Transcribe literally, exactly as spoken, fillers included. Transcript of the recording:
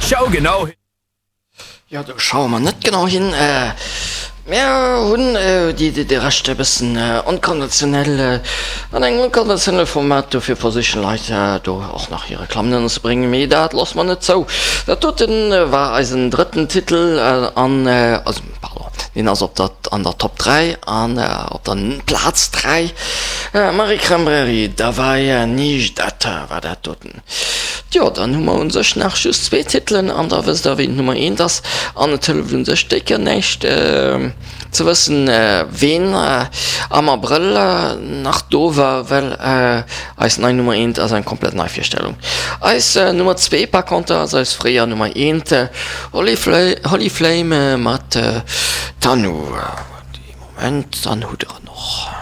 Schau genau hin. Jo, do schaue mer net genau hin. Mir hunn déi de Rescht e bëssen onkonventionell, an engem onkonventionelle Format, dofir versichen Leit do och nach hir Reklammen ënnerzebréngen, mee dat loosse mer net zou. Dat doten war eisen drëtten Titel an, also pardon, deen ass op der an der Top dräi an op der Plaz dräi. Marie Cranberry, Davai Nijdat war dat doten. Jo, dann hu mer un sech nach just zwee Titelen an da wësst der ween d'Nummer eent ass. An et hëlleft un sech décke näischt ze wëssen, ween am Abrëll nach do war, well eis nei Nummer eent ass eng komplett nei Virstellung. Eis Nummer zwee par conter ass eis fréier Nummer eent, Holly Flame mat Tanu. Dee Moment, dann hutt der en och.